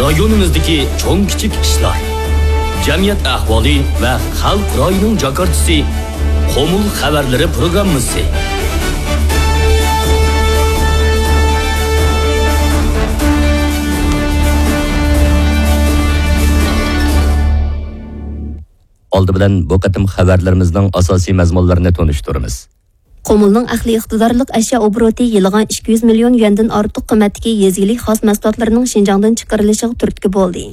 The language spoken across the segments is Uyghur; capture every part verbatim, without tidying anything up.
رايونىمىزدىكى چوڭ كىچىك ئىشلار، جەمئىيەت ئەھۋالى ۋە خەلق رايىنىڭ جاكارتىسى، قۇمۇل خەۋەرلىرى پروگراممىسى. ئالدى بىلەن بۇ قېتىم خەۋەرلىرىمىزنىڭ ئاساسىي مەزمۇنلىرىنى تونۇشتۇرىمىز. قۇمۇلنىڭ ئەقلىي ئىقتىدارلىق ئەشيا ئوبوروتى يىلىغا ئىككى يۈز مىليون يۈەندىن ئارتۇق قىممەتتىكى يېزا ئىگىلىك خاس مەھسۇلاتلىرىنىڭ شىنجاڭدىن چىقىرىلىشىغا تۈرتكە بولدى.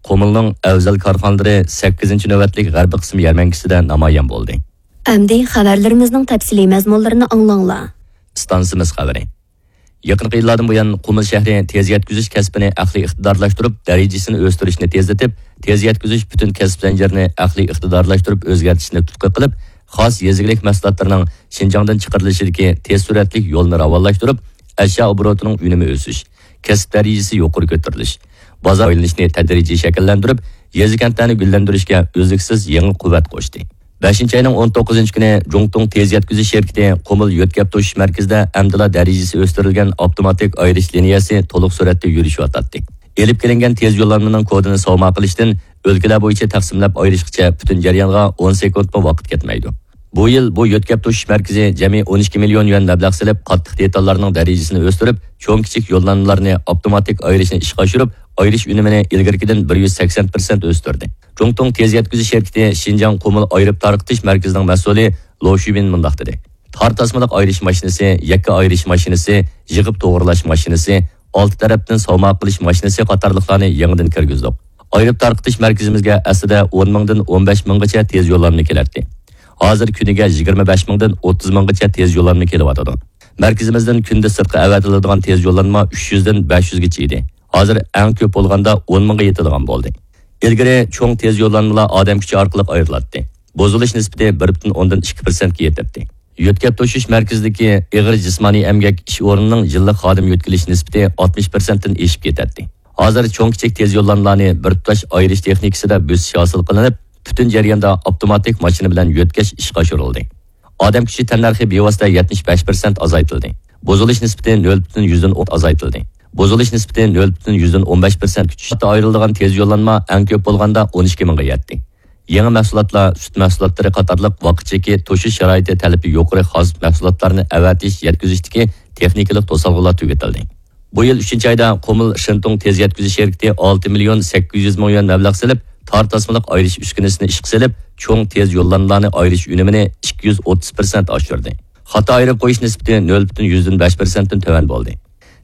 قۇمۇلنىڭ ئەۋزەل كارخانىلىرى سەككىزىنچى نۆۋەتلىك غەربىي قىسىم يەرمەنكىسىدە نامايان بولدى. ئەمدى خەۋەرلىرىمىزنىڭ تەپسىلىي مەزمۇنلىرىنى ئاڭلاڭلار. ئىستانسىمىز خەۋىرى. يېقىنقى يىللاردىن بۇيان، قۇمۇل شەھىرى تېز يەتكۈزۈش كەسپىنى ئەقلىي ئىقتىدارلاشتۇرۇپ، دەرىجىسىنى ئۆستۈرۈشنى تېزلىتىپ، تېز يەتكۈزۈش پۈتۈن كەسىپ زەنجىرىنى ئەقلىي ئىقتىدارلاشتۇرۇپ ئۆزگەرتىشنى تۇتقا قىلىپ، خاس يېزا ئىگىلىك مەھسۇلاتلىرىنىڭ شىنجاڭدىن چىقىرىلىشىدىكى تېز سۈرئەتلىك يولنى راۋانلاشتۇرۇپ، ئەشيا ئوبوروتىنىڭ ئۈنۈمى ئۆسۈش، كەسىپ دەرىجىسى يۇقىرى كۆتۈرۈلۈش، بازار ئايلىنىشنى تەدرىجىي شەكىللەندۈرۈپ، يېزا-كەنتلەرنى گۈللەندۈرۈشكە ئۈزلۈكسىز يېڭى قۇۋۋەت قوشتى. بەشىنچى ئاينىڭ ئون توققۇزىنچى كۈنى جۇڭتۇڭ تېز يەتكۈزۈش شىركىتى قۇمۇل يۆتكەپ توشۇش مەركىزىدە ئەمدىلا دەرىجىسى ئۆستۈرۈلگەن ئاپتوماتىك ئايرىش لىنىيەسى تولۇق سۈرئەتتە يۈرۈشۈۋاتاتتى. ئېلىپ كېلىنگەن تېز يوللانمىنىڭ كودىنى ساۋما قىلىشتىن ئۆلكىلەر بويىچە تەقسىملەپ ئايرىشقىچە پۈتۈن جەريانغا ئون سېكۇنتمۇ ۋاقىت كەتمەيدۇ. بۇ يىل بۇ يۆتكەپ توشۇش مەركىزى جەمئىي ئون ئىككى مىليون يۈەن مەبلەغ سېلىپ، قاتتىق دېتاللارنىڭ دەرىجىسىنى ئۆستۈرۈپ، چوڭ كىچىك يوللانمىلارنى ئاپتوماتىك ئايرىشنى ئىشقا ئاشۇرۇپ، ئايرىش ئۈنۈمىنى ئىلگىرىكىدىن بىر يۈز سەكسەن پىرسەنت ئۆستۈردى. جۇڭتۇڭ تېز يەتكۈزۈش شىركىتى شىنجاڭ قۇمۇل ئايرىپ تارقىتىش مەركىزىنىڭ مەسئۇلى لو شۈبىن مۇنداق دېدى: تار تاسمىلىق ئايرىش ماشىنىسى، يەككە ئايرىش ماشىنىسى، يىغىپ توغرىلاش ماشىنىسى، ئالتە تەرەپتىن ساۋما قىلىش ماشىنىسى قاتارلىقلارنى يېڭىدىن كىرگۈزدۇق. ئايرىپ تارقىتىش مەركىزىمىزگە ئەسلىدە ئون مىڭدىن ئون بەش مىڭغىچە تېز يوللانما كېلەتتى. ھازىر كۈنىگە يىگىرمە بەش مىڭدىن ئوتتۇز مىڭغىچە تېز يوللانما كېلىۋاتىدۇ. مەركىزىمىزدىن كۈندە سىرتقا ئەۋەتىلىدىغان تېز يوللانما ئۈچ يۈزدىن بەش يۈزگىچە ئىدى. ھازىر ئەڭ كۆپ بولغاندا ئون مىڭغا يېتىدىغان بولدى. ئىلگىرى چوڭ تېز يوللانمىلار ئادەم كۈچى ئارقىلىق ئايرىلاتتى. بۇزۇلۇش نىسبىتى بىر پۈتۈن ئوندىن ئىككى پىرسەنتكە يېتەتتى. يۆتكەپ توشۇش مەركىزىدىكى ئېغىر جىسمانىي ئەمگەك ئىش ئورنىنىڭ يىللىق خادىم يۆتكىلىش نىسبىتى ئاتمىش پىرسەنتتىن ئېشىپ كېتەتتى. ھازىر چوڭ كىچىك تېز يوللانمىلارنى بىر تۇتاش ئايرىش تېخنىكىسىدا بۆسۈش ھاسىل قىلىنىپ، پۈتۈن جەرياندا ئاپتوماتىك ماشىنا بىلەن يۆتكەش ئىشقا ئاشۇرۇلدى. ئادەم كۈچى تەننەرخى بىۋاسىتە يەتمىش بەش پىرسەنت ئازايتىلدى. بۇزۇلۇش نىسبىتى نۆل پۈتۈن يۈزدىن ئون ئازايتىلدى. بۇزۇلۇش نىسبىتى نۆل پۈتۈن يۈزدىن ئون بەش پىرسەنتكە چۈشۈپ، ئايرىلىدىغان تېز يوللانما ئەڭ كۆپ بولغاندا ئون ئىككى مىڭغا يەتتى. يېڭى مەھسۇلاتلار، سۈت مەھسۇلاتلىرى قاتارلىق ۋاقىت چېكى، توشۇش شارائىتى تەلىپى يۇقىرى خاس مەھسۇلاتلارنى ئەۋەتىش، يەتكۈزۈشتىكى تېخنىكىلىق توسالغۇلار تۈگىتىلدى. بۇ يىل ئۈچىنچى ئايدا قۇمۇل شېنتۇڭ تېز يەتكۈزۈش شىركىتى ئالتە مىليون سەككىز يۈز مىڭ يۈەن مەبلەغ سېلىپ، تار تاسمىلىق ئايرىش ئۈسكۈنىسىنى ئىشقا سېلىپ، چوڭ تېز يوللانمىلارنى ئايرىش ئۈنۈمىنى ئىككى يۈز ئوتتۇز پىرسەنت ئاشۇردى. خاتا ئايرىپ قويۇش نىسبىتى نۆل پۈتۈن يۈزدىن بەش پىرسەنتتىن تۆۋەن بولدى.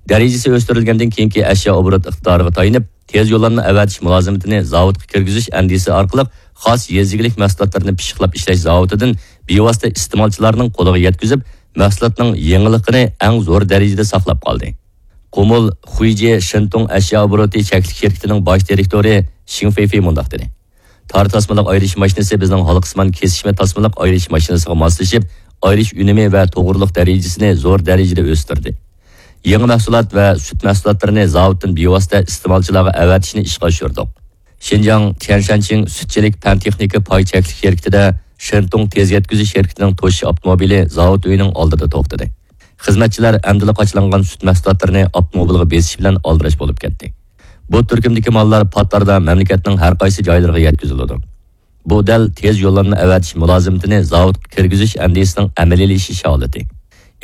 دەرىجىسى ئۆستۈرۈلگەندىن كېيىنكى ئەشيا ئوبوروت ئىقتىدارىغا تايىنىپ، تېز يوللانما ئەۋەتىش مۇلازىمىتىنى زاۋۇتقا كىرگۈزۈش ئەندىزىسى ئارقىلىق خاس يېزا ئىگىلىك مەھسۇلاتلىرىنى پىششىقلاپ ئىشلەش زاۋۇتىدىن بىۋاسىتە ئىستېمالچىلارنىڭ قولىغا يەتكۈزۈپ، مەھسۇلاتنىڭ يېڭىلىقىنى ئەڭ زور دەرىجىدە ساقلاپ قالدى. قۇمۇل خۇيجې شېنتۇڭ ئەشيا ئوبوروتى چەكلىك شىركىتىنىڭ باش دىرېكتورى شىڭ فېيفېي مۇنداق دېدى: تار تاسمىلىق ئايرىش ماشىنىسى بىزنىڭ ھالقىسىمان كېسىشمە تاسمىلىق ئايرىش ماشىنىسىغا ماسلىشىپ، ئايرىش ئۈنۈمى ۋە توغرىلىق دەرىجىسىنى زور دەرىجىدە ئۆستۈردى. يېڭى مەھسۇلات ۋە سۈت مەھسۇلاتلىرىنى زاۋۇتتىن بىۋاسىتە ئىستېمالچىلارغا ئەۋەتىشنى ئىشقا ئاشۇردۇق. شىنجاڭ تيەنشانچىڭ سۈتچىلىك پەن تېخنىكا پاي چەكلىك شىركىتىدە شېنتۇڭ تېز يەتكۈزۈش شىركىتىنىڭ توشۇش ئاپتوموبىلى زاۋۇت ئۆيىنىڭ ئالدىدا توختىدى. خىزمەتچىلەر ئەمدىلا قاچىلانغان سۈت مەھسۇلاتلىرىنى ئاپتوموبىلغا بېسىش بىلەن ئالدىراش بولۇپ كەتتى. بۇ تۈركۈمدىكى ماللار پات ئارىدا مەملىكەتنىڭ ھەر قايسى جايلىرىغا يەتكۈزۈلىدۇ. بۇ دەل تېز يوللانما ئەۋەتىش مۇلازىمىتىنى زاۋۇتقا كىرگۈزۈش ئەندىزىسىنىڭ ئەمەلىيلىشىش ھالىتى.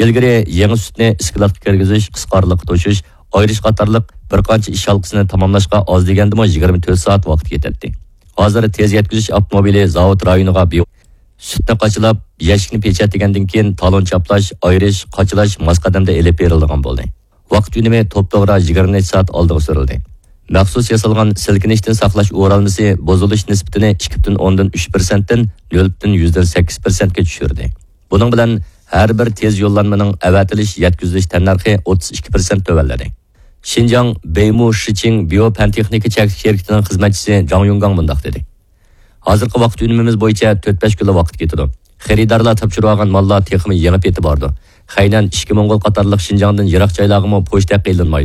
ئىلگىرى يېڭى سۈتنى ئىسكىلاتقا كىرگۈزۈش، قىسقا ئارىلىققا توشۇش، ئايرىش قاتارلىق بىر قانچە ئىش ھالقىسىنى تاماملاشقا ئاز دېگەندىمۇ يىگىرمە تۆت سائەت ۋاقىت كېتەتتى. ھازىر تېز يەتكۈزۈش ئاپتوموبىلى زاۋۇت رايونىغا بىۋاسىتە سۈتنى قاچىلاپ، يەشىكنى پېچەتلىگەندىن كېيىن، تالون چاپلاش، ئايرىش، قاچىلاش ماس قەدەمدە ئېلىپ بېرىلىدىغان بولدى. ۋاقىت ئۈنۈمى توپتوغرا يىگىرمە نەچچە سائەت ئالدىغا سۈرۈلدى. مەخسۇس ياسالغان سىلكىنىشتىن ساقلاش ئورالمىسى بۇزۇلۇش نىسبىتىنى ئىككى پۈتۈن ئوندىن ئۈچ پىرسەنتتىن نۆل پۈتۈن يۈزدىن سەككىز پىرسەنتكە چۈشۈردى. بۇنىڭ بىلەن ھەر بىر تېز يوللانمىنىڭ ئەۋەتىلىش، يەتكۈزۈلۈش تەننەرخى ئوتتۇز ئىككى پىرسەنت تۆۋەنلىدى. شىنجاڭ بېيمۇ شىچىڭ بىيو پەن تېخنىكا چەكلىك شىركىتىنىڭ خىزمەتچىسى جاڭ يۇڭگاڭ مۇنداق دېدى: ھازىرقى ۋاقىت ئۈنۈمىمىز بويىچە تۆت بەش كۈنلا ۋاقىت كېتىدۇ. خېرىدارلار تاپشۇرۇۋالغان ماللار تېخىمۇ يېڭى پېتى باردۇ. خەينەن، ئىچكى موڭغۇل قاتارلىق شىنجاڭدىن يىراق جايلارغىمۇ پوچتا ھەققى ئېلىنمايدۇ.